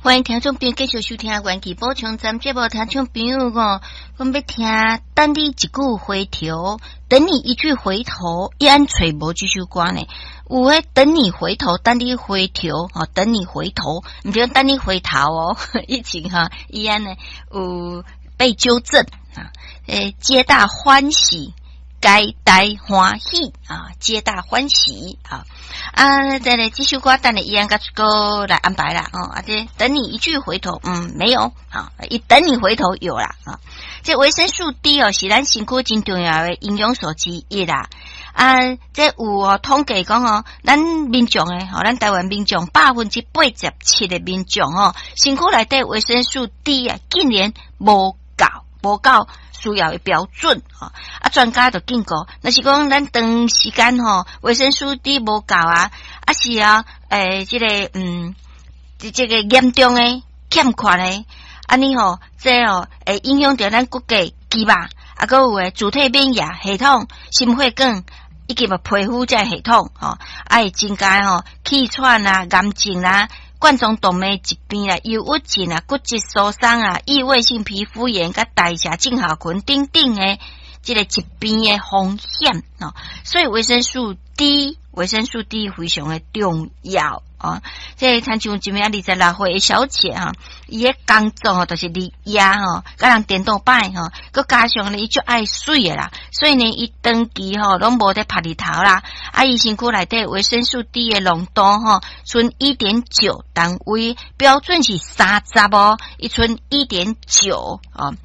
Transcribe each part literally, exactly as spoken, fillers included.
歡迎聽眾朋友繼續收聽《元氣補充站》節目。聽眾朋友講，講欲聽等你一句回頭，等你一句回頭，伊按揣無這首歌呢？有彼等你回頭，等你回頭，吼，等你回頭，毋是等你回頭哦。以前哈，伊按呢有被糾正啊，欸，皆大歡喜，皆大歡喜啊，皆大歡喜啊！啊，再來這首歌，等你伊按閣閣來安排啦哦。啊，這等你一句回頭，嗯，沒有啊，一等你回頭有啦啊。這維生素 D 哦，是咱身軀真重要的營養素之一啦。啊，這有哦統計講哦，咱民眾的吼，咱台灣民眾百分之八十七的民眾哦，身軀內底維生素 D 啊，竟然無夠，無夠需要的標準吼。啊，專家就警告，若是講咱長時間吼，維生素 D 無夠啊，啊是啊，欸，這個嗯，這這個嚴重的欠缺的，按呢吼，這哦會影響著咱骨骼、肌肉，啊，閣有的自體免疫系統、心血管以及皮膚這系統吼，啊會增加吼氣喘啊、癌症啊、冠狀動脈疾病啊、憂鬱症啊、骨質疏鬆啊、異位性皮膚炎、佮代謝症候群等等的這個疾病的風險哦。所以維生素 D，維生素 D 非常的重要哦。這親像一名二十六歲的小姐哈，伊的工作吼就是日夜吼，共人顛倒擺吼，閣加上呢，伊足愛媠的啦，所以呢，伊長期吼攏無咧曬日頭啦。啊，伊身軀內底維生素 D 的濃度吼，賰一點九單位，標準是三十哦，伊賰一點九哦。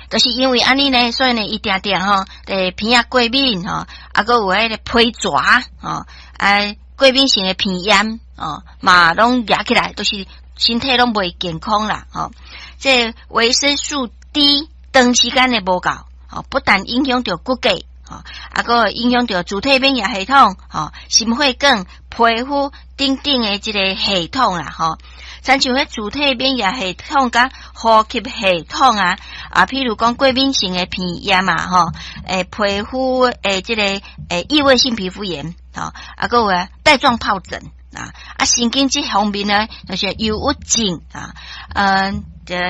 就是因為按呢呢，所以呢，伊定定吼，欸，鼻仔過敏吼，啊，閣有彼個皮蛇吼，啊，過敏性的鼻炎哦，嘛攏惹起來，都是身體攏袂健康啦，吼。這維生素 D 長時間的無夠，吼，不但影響著骨骼，吼，啊，閣會影響著自體免疫系統，吼，心血管、皮膚等等的這個系統啦，吼。親像彼自體免疫系統佮呼吸系統啊，啊，譬如講過敏性的鼻炎嘛，吼，欸，皮膚的這個欸異位性皮膚炎，吼，啊，閣有啊帶狀疱疹啊，啊，神經這方面呢，就是憂鬱症啊，嗯，這。